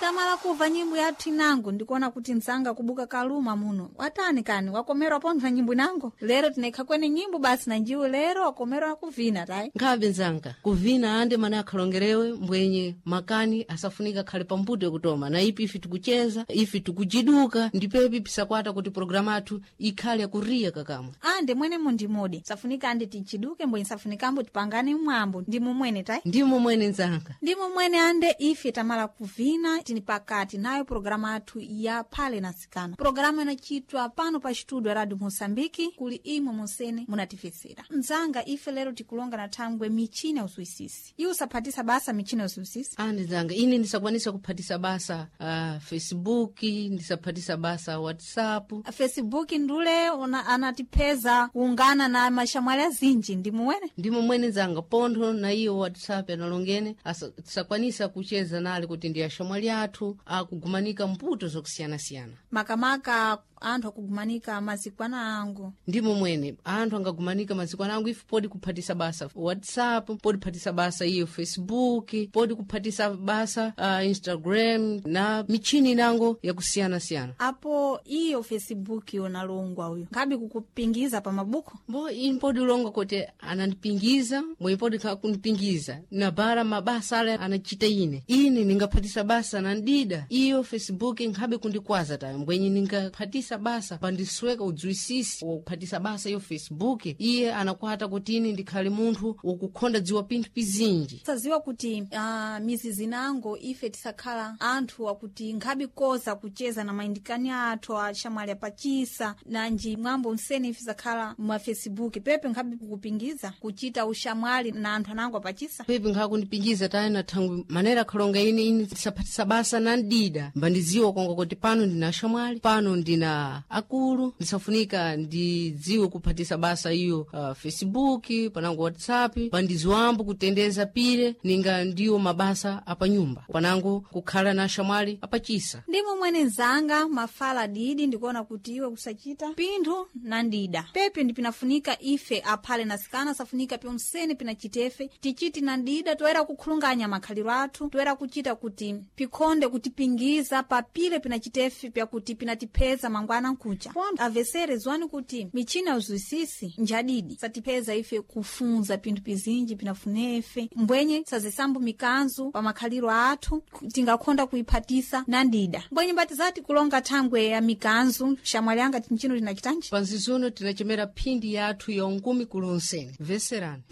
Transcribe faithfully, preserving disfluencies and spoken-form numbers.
Tamala kuva nyimbo yathu inango, ndikuona kuti msanga kubuka kaluma muno watani kani wakomerwa pontha nyimbo inango. Lero tinaikha kwene nyimbo basi na njiwe lero wakomerwa kuvina tayi. Nkhabe nzanga, kuvina ande mana akhalongerewe mbwenye makani asafunika akhale pambuto yakutoma na ipi ife tikucheza, ife tikujiduka, ndipepi pisakwata kuti programu athu ikhale yakuriya kakamwe. Ande mwene mundimudi safunika ande tichiduke mbwenye safunikambo tipangane mwambo ndimo mwene tayi. Ndimo mwene nzanga. Ndimo mwene ande ife tamala kuvina tini pakati nayo programa athu ya Phale na Sikana, programa inachitwa pano pa studio Radio Moçambique kuli imwe monsene munatifesera. Mzanga, ife lero tikulonga na thangwe michina usuisisi. Iwe usaphatisa basa michina usuisisi? Ande nzanga, ine ndisakwanisa kuphatisa basa uh, Facebook, ndisaphatisa basa WhatsApp. Facebook ndule una, anatipheza kuungana na mashamwali azinji, ndimuwene. Ndimo mwene nzanga, pontho na iyo WhatsApp analongene asa- tisakwanisa kucheza nale kuti ndi ashamwali athu akugumanika mputo zokusiyanasiyana. Makamaka anthu akugumanika mazikwana angu. Ndimo mwene anthu angagumanika mazikwana angu. Ife podi kuphatisa basa WhatsApp, podi kuphatisa basa iyo Facebook, podi kuphatisa basa uh, Instagram na michini inango yakusiyanasiyana. Apo iyo Facebook yonalongwa uyo nkhabe kukupingiza pa mabuku? Mbo ini podi ulonga kuti anandipingiza, mwe podi kundipingiza nabara mabasa ale anachita ine ine ningaphatisa basa nandida iyo Facebook nkhabe kundikwaza tayo mbwenye ningaphatisa basa pandisweka udziwisisi wakuphatisa basa iyo Facebook, iye anakwata kuti ine ndikhale munthu wakukhonda dziwa pinthu pizinji. Saziwa kuti uh, mizizi nango ife tisakhala anthu akuti nkhabe koza kucheza na mayindikani athu ashamwali apachisa nanji mwambo msene ife sakhala mwa Facebook pepe nkhabe kukupingiza kuchita ushamwali na anthu anango apachisa. Pepi nkhakundipingiza tayi na thangwi manera akhalonga ine ine tisaphatisa basa nandida mbandidziwa konga kuti pano ndina ashamwali, pano ndina akulu, ndisafunika ndidziwe kuphatisa basa iyo uh, Facebook panango WhatsApp, pandidziwambo kutendeza pile ninga ndiwo mabasa apanyumba panango kukhala na ashamwali apachisa. Ndimo mwene nzanga, mafala didi ndikuona kuti iwe kusachita pinthu na ndida pepe ndipinafunika ife aphale na sikana safunika pyonsene pinachitefe tichiti na ndida toera kukhulunganya makhaliro athu, toera kuchita kuti pikhonde kutipingiza papile pinachitefe pyakuti pinatipheza mangwana nkucha pontho. Avesere zwani kuti michina uzwisisi njadidi satipheza ife kufunza pinthu pizinji pinafunefe mbwenye sazisambo mikanzu pa makhaliro athu tingakhonda kuiphatisa na ndida mbwenye mbatizati kulonga thangwe ya mikanzu. Shamwali anga, tinchino tinachitanji? Panzizono tinachemera phindi yathu ya ungumi kulonsene, veserani.